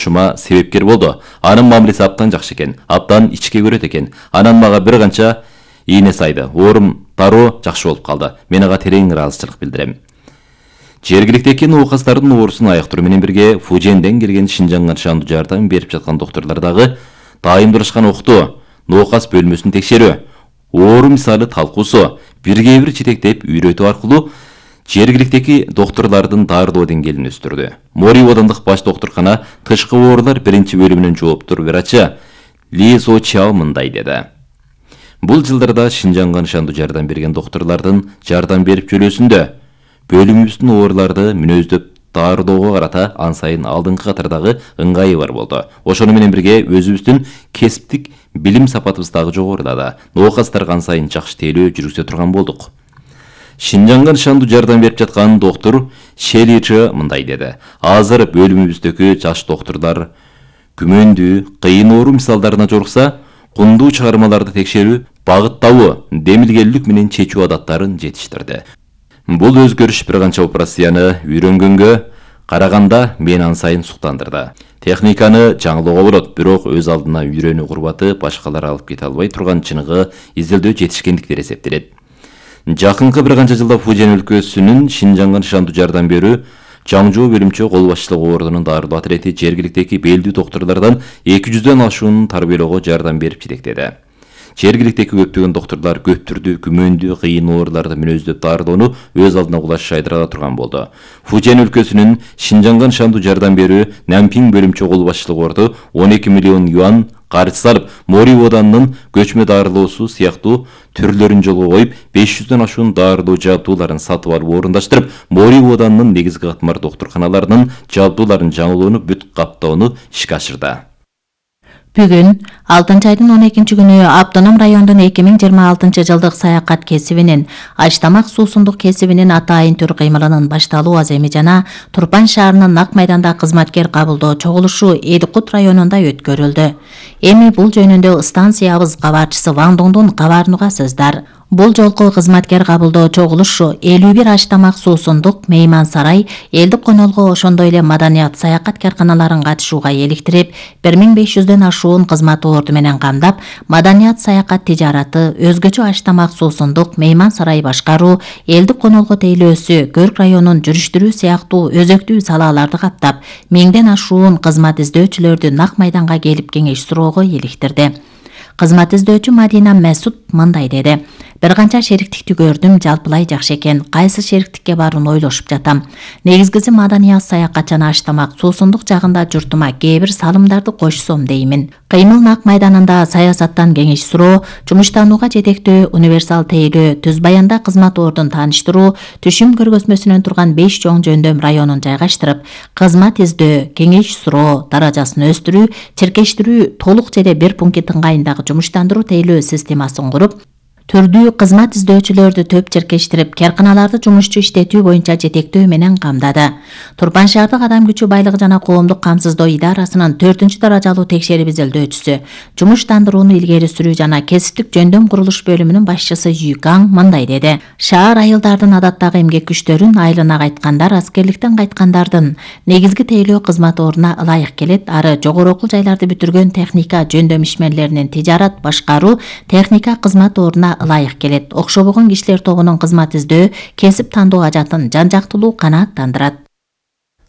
Шума себепкер болду. Анын мамилеси абдан жакшы экен, абдан ичке көрөт экен. Анан мага бир канча ийне сайды. Оорум дароо жакшы болуп калды. Мен ага терең ыраазычылык билдирем. Жергиликтеги оокастардын оорусун айыктыруу менен бирге Фуженден келген Шинжанга шандуу жардам берип жаткан доктурлар дагы дайымдашкан окту, оокас бөлмөсүн текшерүү, оору мисалы талкуусу, бирге бир жетектеп үйрөтүү аркылуу жергиликтеги доктурлардын дарылоо деңгээлин өстүрдү. Мори оодандык баш доктуркана тышкы оорулар биринчи бөлүмүнүн жооптор врачы Ли Со Чао мындай деди. Бул жылдарда Шинжанга шандуу жардам берген доктурлардын жардам берип жөлөөсүндө бөлүмүбүздүн ооруларды мүнөздөп дарылоого карата ан сайын алдыңкы катардагы ыңгайы бар болду. Ошону менен бирге өзүбүздүн кесиптик билим сапатыбыз дагы жогорулады. Оокастарга ан сайын жакшы тейлөө жүргүзө турган болдук. Шинжанга шандуу жардам берип жаткан доктур Шеличи мындай деди. Азыр бөлүмүбүздөгү жаш доктурлар күмөндүү, кыйын оору мисалдарына жолукса, кундуу чыгармаларды текшерүү, багыттабуу, демилгелүүлүк менен чечүү адаттарын жетиштирди. Бул өзгөрүш бир канча операцияны үйрөнгөнгө караганда мен ан сайын суктандырды. Техниканы жаңылоого болот, бирок өз алдына үйрөнүү курбаты башкалар алып кете албай турган чыныгы изилдөө жетишкендик деп эсептелет. Жакынкы бир канча жылда Фужен өлкөсүнүн Шинжанга шандуу жардам берүү жаңжоо бөлүмчө кол башчылыгы ордунун дарылоо атрети жергиликтеги белдүү доктурлардан 200дөн ашуунун тарбиялоого жардам берип жетектеди. Жергиликтеги көптөгөн доктурлар көп түрдүү күмөндүү кыйын ооруларды мүнөздөп дарылоону өз алдына кулаш шайдыра турган болду. Фужен өлкөсүнүн Шинжанга шандуу жардам берүү Нампинг бөлүмчө кол башчылыгы орду 12 миллион юан каржы салып, Мори оодандын көчмө дарылоосу сыяктуу түрлөрүн жолго коюп, 500дөн ашуун дарылоо жабдууларын сатып алып орундаштырып, Мори оодандын негизги катмар доктурканаларынын жабдууларын жаңылоону бүт каптоону ишке ашырды. Бүгүн 6-айдын 12-күнү Автоном райондун 2026 жылдык саякат кесибинин, Ачтамак суусундук кесибинин атайын түр кыймылынын башталуу аземи жана Турпан шаарынын Нак майданда кызматкер кабылдоо чогулушу Эликут районунда өткөрүлдү. Эми бул жөнүндө станциябыз кабарчысы Ван Доңдун кабарын угасыздар. Бул жолку кызматкер кабылдоо чогулушу 51 Ачтамак суусундук, Мейман сарай, элдик конолго ошондой эле маданият саякат карканаларын катышууга эликтирип, 1500дөн ашуун кызмат орду менен камдап, маданият саякат тижараты, өзгөчө Ачтамак суусундук, Мейман сарай башкаруу, элдик конолго тейлөөсү, Көрк районун жүрүштүрүү сыяктуу өзөктүү салааларды каптап, 1000ден ашуун кызмат издөөчүлөрдү Нак майданга келип кеңеш суроого эликтирди. Кызмат издөөчү Мадина Месут мындай деди. Бир канча шериктикти көрдүм, жалпылай жакшы экен. Кайсы шериктикке барууну ойлошуп жатам. Негизгиси маданият саякат жана Ачтамак суусундук жагында журтума кээ бир салымдарды кошсом деймин. Кыймыл Нак майданында саясаттан кеңеш суроо, жумуштанууга жетектөө, универсал тейлөө, Түз Баянда кызмат ордун тааныштыруу, Түшүм көргөзмөсүнөн турган 5 чоң жөндөм районун жайгаштырып, кызмат издөө, кеңеш суроо, даражасын өстүрүү, чиркештирүү, толук жеде бир пункт ыңгайындагы жумуштандыруу тейлөө системасын куруп, түрдүү кызмат издөөчүлөрдү төп чиркештирип, карканаларды жумушчу иштетүү боюнча жетектөө менен камдады. Турпан шаардык адам күчү байлыгы жана коомдук камсыздоо идарасынын 4-даражалуу текшерип изилдөөчүсү, жумуштандырууну илгери сүрүү жана кесиптик жөндөм курулуш бөлүмүнүн башчысы Юкаң мындай деди. Шаар айылдардын адаттагы эмгек күчтөрүн, айылына кайткандар, аскерликтен кайткандардын негизги тейлөө кызмат ордуна ылайык келет. Ары жогору окуу жайларды бүтүргөн техника жөндөм ишмерлеринин тижарат башкаруу, техника кызмат ордуна ылайык келет. Окшобогон кишилер тобунун кызмат издөө, кесип тандоо ажатын жан-жактылуу канааттандырат.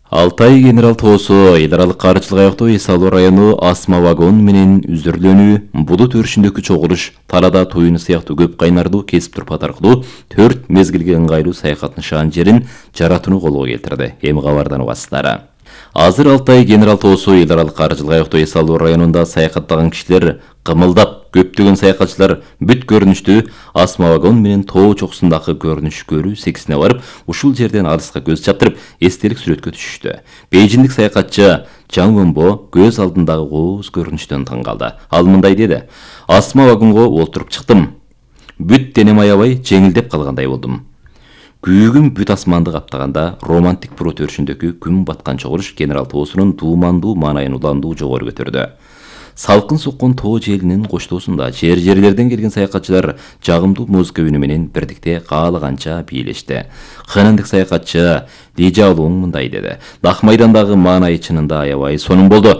Алтай генерал тоосу эл аралык каржылык аяктоо эс алуу району Асма вагон менен үзүрлөнүү, булут өрүшүндөгү чогулуш, талада туюну сыяктуу көп кайнардуу кесип турпат аркылуу 4 мезгилге ыңгайлуу саякат нышан жерин жаратууну колго келтирди. Эми кабардан угасыздар. Азыр Алтай генерал тоосу эл аралык каржылык аяктоо эс алуу районунда саякаттаган кишилер кымылдап, көптөгөн саякатчылар бүт көрүнүштүү Асма вагон менен тоо чокусундагы көрүнүш көрүү сексине барып, ушул жерден алыска көз чаптырып, эстелик сүрөткө түшүштү. Бейжиндик саякатчы Чаң Вэнбо көз алдындагы кооз көрүнүштөн таң калды. Ал мындай деди: Асма вагонго олтуруп чыктым. Бүт денем аябай жеңилдеп калгандай болдум. Күйүгүм бүт асманды каптаганда романтик бурут өрүшүндөгү күн баткан чогулуш генерал тоосунун дуумандуу маанайын уландуу жогору көтөрдү. Салкын соккон тоо желинин коштоосунда жерлерден келген саякатчылар жагымдуу музыка үнү менен бирдикте каалаганча бийлешти. Ханандык саякатчы Лижа Луң мындай деди: Дак майдандагы маанайы чынында аябай сонун болду.